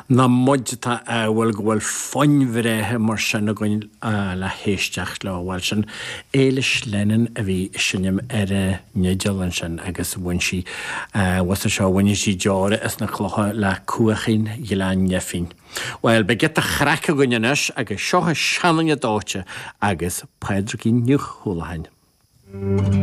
Nach muid atá ádhúil go bhfuil foinn bhreátha mar sin againn le héisteacht leo. Bhuel, sin Éilis Lennon a bhí ag seinm ar an fhidil ansin agus bhain sí, bhus seo, bhain sí deora as na clocha le Cuaichín Ghleann Neifín. Bhuel, beidh giota chraic againn anois agus seo seanduine dóite agus Pádraigín Ní Chualáin.